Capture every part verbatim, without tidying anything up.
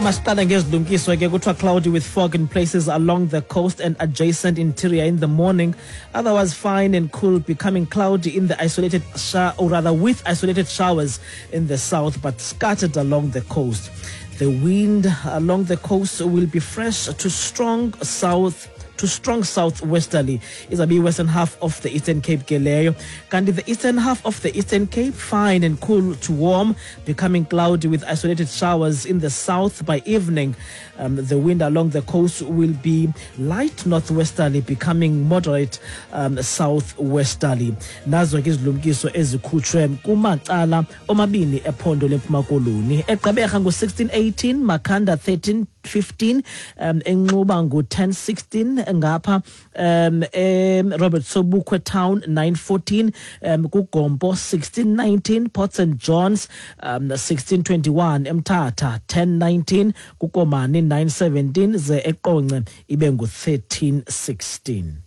Masiqala ngezilumkiso ke. Kuthiwa cloudy with fog in places along the coast and adjacent interior in the morning, otherwise fine and cool, becoming cloudy in the isolated sho- or rather with isolated showers in the south, but scattered along the coast. The wind along the coast will be fresh to strong south to strong southwesterly. Izabe western half of the Eastern Cape ke leyo. Kanti the eastern half of the Eastern Cape, fine and cool to warm, becoming cloudy with isolated showers in the south by evening. Um, the wind along the coast will be light northwesterly, becoming moderate um, southwesterly. Nazo ke izilumkiso ezikhutshwe kumacala omabini ephondo leMpuma Koloni. EGqeberha ngu-sixteen eighteen, Makhanda thirteen fifteen, um eNxuba ngu-ten sixteen, ngapha um em Robert Sobukwe Town nine fourteen, um kuGompo sixteen nineteen, Port Saint Johns um sixteen twenty-one, eMthatha ten nineteen, kuKomani nine seventeen, ze eQonce ibe ngu-thirteen sixteen.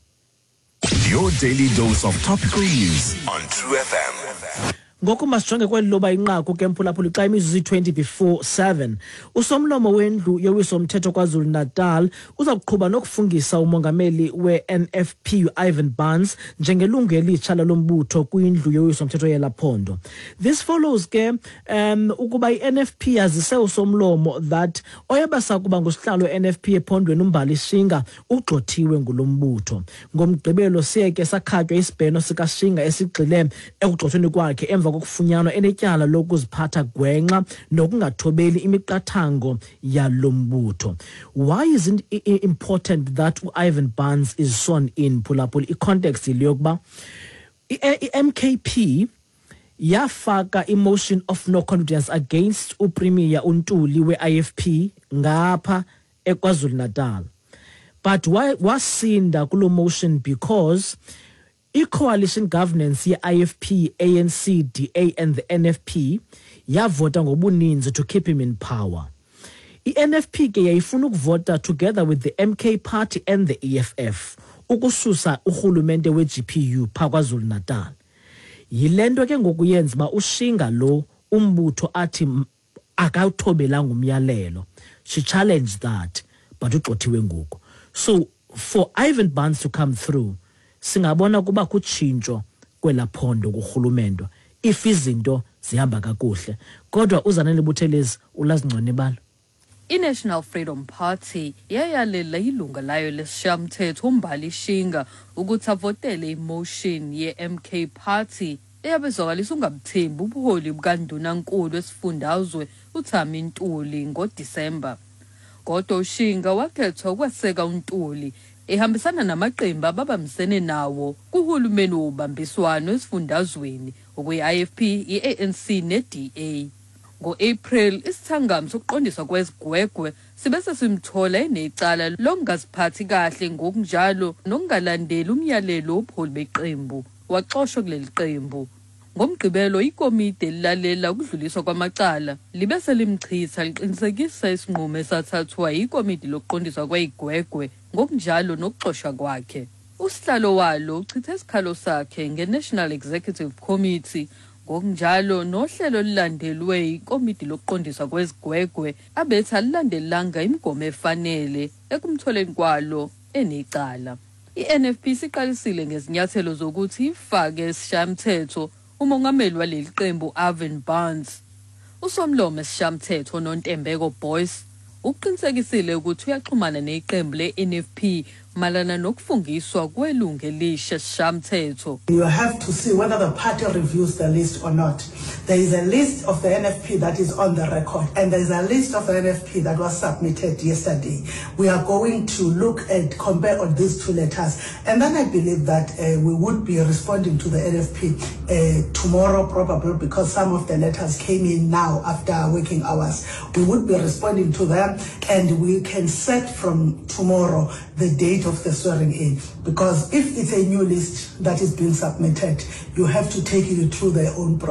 Your daily dose of topical news on True F M. Ngoku masijonge kweli loba inqaku ke, mphulaphuli, xa imizuzu iyi-twenty before seven. Usomlomo wendlu yowiso-mthetho KwaZulu-Natal uza kuqhuba nokufungisa umongameli we-N F P u-Ivan Barnes njengelungu elitsha lalo mbutho kwindlu yowiso-mthetho yela phondo. This follows ke um ukuba i-N F P yazise usomlomo that oyebasakuba ngusihlalo we-N F P ephondweni uMbali Shinga ugxothiwe ngulo mbutho. Ngomgqibelo siye ke sakhatywa isibheno sikaShinga esigxile ekugxothweni kwakhe emva kokufunyanwa enetyala lokuziphatha gwenxa nokungathobeli imiqathango yalo mbutho. Why is it important that u-Ivan Barnes is sworn in, phulaphula? I-context yile yokuba i-M K P yafaka i-motion of no confidence against uPremier uNtuli we-I F P ngapha eKwaZulu-Natal, but wasinda kulo motion because i-coalition governance ye-I F P, A N C, D A and the N F P yavota ngobuninzi to keep him in power. I-N F P ke yayifuna ukuvota together with the M K Party and the E F F ukususa urhulumente we-G P U phaa KwaZulu-Natal. Yile nto ke ngoku yenza uba uShinga lo umbutho athi akawuthobelanga umyalelo. She challenged that, but ugxothiwe ngoku. So for Ivan Barnes to come through, singabona kuba kutshintsho kwela phondo kurhulumento if izinto zihamba kakuhle. Kodwa uZanele Buthelezi ulazi ngcono ibala. I-National Freedom Party yayalela ilunga layo lesishayamthetho uMbali Shinga ukuthi avotele imotion ye-M K Party eyabezwakalisa ungabuthembi ubuholi bukandunankulu wesifundazwe uThami Ntuli ngoDisemba. Kodwa uShinga wakhethwa ukweseka uNtuli ehambisana namaqembu ababambisene nawo kuhulumeni wobambiswano esifundazweni, okuyi-I F P, i-A N C ne-D A. Ngo-April, isithangami sokuqondiswa kwezigwegwe sibe sesimthola enecala lokungaziphathi kahle ngokunjalo nokungalandeli umyalelo wobuholi beqembu, waxoshwa kuleli qembu. NgoMgqibelo, ikomidi elilalela ukudluliswa kwamacala libe selimchitha, liqinisekisa isinqumo esathathwa yikomidi lokuqondiswa kwezigwegwe ngokunjalo nokuxoshwa kwakhe. Usihlalo walo uchithe isikhalo sakhe nge-National Executive Committee ngokunjalo nohlelo olulandelwe ikomidi lokuqondiswa kwezigwegwe, abethi alilandelanga imigomo efanele ekumtholeni kwalo enecala. I-N F P siqalisile ngezinyathelo zokuthi ifake esishayamthetho umongameli waleli qembu Ivan Barnes. Usomlomo esishayamthetho Nontembeko Boyce ukuqinisekisile ukuthi uyaxhumana neqembu le-N F P mayelana nokufungiswa kwelungu elisha esishayamthetho. You have to see whether the party reviews the list or not. There is a list of the N F P that is on the record, and there is a list of the N F P that was submitted yesterday. We are going to look and compare on these two letters, and then I believe that uh, we would be responding to the N F P uh, tomorrow, probably, because some of the letters came in now after working hours. We would be responding to them, and we can set from tomorrow the date of the swearing in. Because if it's a new list that is being submitted, you have to take it through their own process.